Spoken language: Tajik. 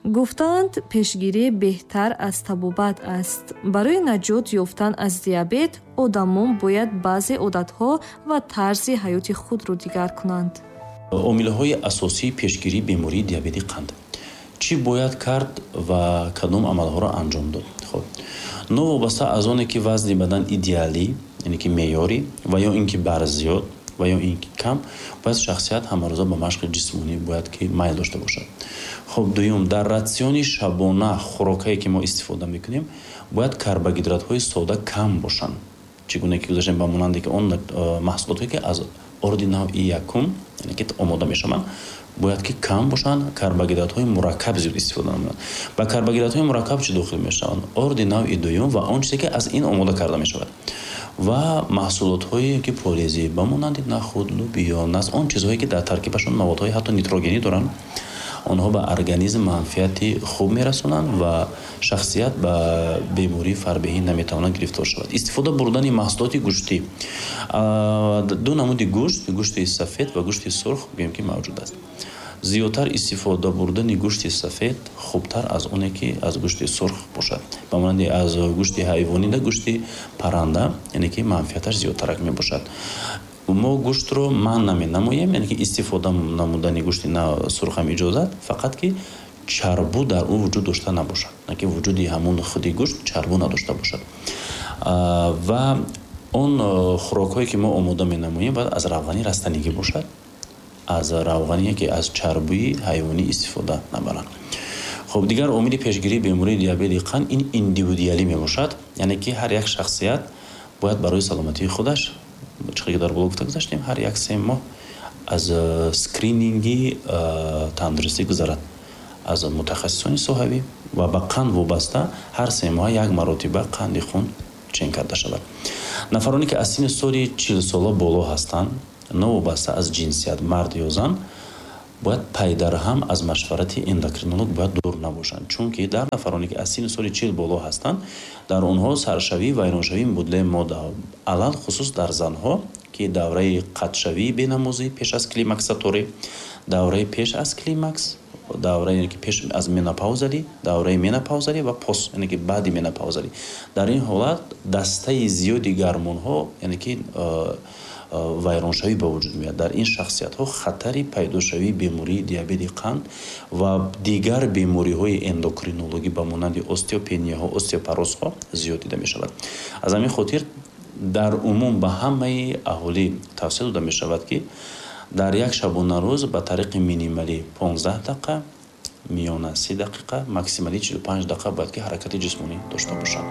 Гуфтаанд, пешгирӣ беҳтар аз табобат аст. Барои наҷот ёфтан аз диабет одамон бояд баъзе одатҳо ва тарзи ҳаёти худро дигар кунанд. Омилҳои асосии пешгирии бемории диабети қанд. Чӣ бояд кард ва кадом амалҳоро анҷом дод? Хоб, новобаста аз оне ки вазни бадан идеалӣ, яъне ки меъёрӣ, ва ё ин ки барзиёд, ва ё ин ки кам, бояд шахсият ҳамарӯза ба машқи ҷисмонӣ бояд ки майл дошта бошад. Хоб, дуюм, дар ратсиони шабона хӯрокае ки мо истифода мекунем, бояд карбогидратҳои сода кам бошанд. Чӣ гуна ки гузаштем, ба монанде ки он маҳсулотҳое ки аз орди навъи якум, яъне ки омода мешаванд, бояд ки кам бошанд, карбогидратҳои мураккаб зиёд истифода намоянд. Ба карбогидратҳои мураккаб чӣ дохил мешаванд? Орди навъи дуюм ва он чизе ки аз ин омода карда мешавад ва маҳсулотҳое ки полезӣ, ба монанди нахуд, лубиё, нас, он чизҳое ки дар таркибашон маводҳои ҳатто нитрогенӣ доранд, онҳо ба организм манфиати хуб мерасонанд ва шахсият ба бемории фарбеҳӣ наметавонад гирифтор шавад. Истифода бурдани маҳсулоти гӯштӣ. Ду намуди гӯшт, гӯшти сафед ва гӯшти сурх гӯем ки мавҷуд аст. Зиёдтар истифода бурдани гӯшти сафед хубтар аз оне ки аз гӯшти сурх бошад. Ба монанди аз гӯшти ҳайвонӣ да гӯшти парранда, яъне ки манфиаташ зиёдтарак мебошад. Мо гӯштро манъ наменамоем, яъне ки истифода намудани гӯшти сурхам иҷозат, фақат ки чарбу дар ӯ вуҷуд дошта набошад, на ки вуҷуди ҳамон худи гӯшт чарбу надошта бошад. Ва он хӯрокҳое ки мо омода менамоем, бояд аз равғани растанигӣ бошад, аз равғане ки аз чарбуи ҳайвонӣ истифода набаранд. Хоб, дигар омили пешгирии бемории диабети қанд ин индивидуалӣ мебошад, яъне ки ҳар як шахсият бояд барои саломатии худаш, чӣ ки дар боло гуфта гузаштем, ҳар як 3 моҳ аз скрининги тандурустӣ гузарад аз мутахассисони соҳавӣ ва ба қанд вобаста ҳар 3 моҳ як маротиба қанди хун чен карда шавад. Нафароне ки аз синни соли 40-сола боло ҳастанд, новобаста аз ҷинсият, мард ё зан, бояд пайдарҳам аз машварати эндокринолог бояд дур набошанд, чунки дар нафароне ки аз синни соли 40 боло ҳастанд, дар онҳо саршавӣ, вайроншавии мубодилаи моддаҳо, алалхусус дар занҳо, ки давраи қатъшавии бенамозӣ пеш аз климаксаторӣ, давраи пеш аз климакс, давраи ки пеш аз менопаузалӣ, давраи менопаузалӣ ва пост, яъне ки баъди менопаузалӣ, дар ин ҳолат дастаи зиёди гормонҳо, яъне ки вайроншавӣ ба вуҷуд меояд. Дар ин шахсиятҳо хатари пайдошавии бемории диабети қанд ва дигар бемориҳои эндокринологӣ ба монанди остеопенияҳо, остеопорозҳо зиёд дида мешавад. Аз ҳамин хотир дар умум ба ҳамаи аҳолӣ тавсия дода мешавад, ки дар як шабонарӯз ба тариқи минималӣ 15 дақиқа, миёна 30 дақиқа, максималӣ 45 дақиқа бояд ки ҳаракати ҷисмонӣ дошта бошанд.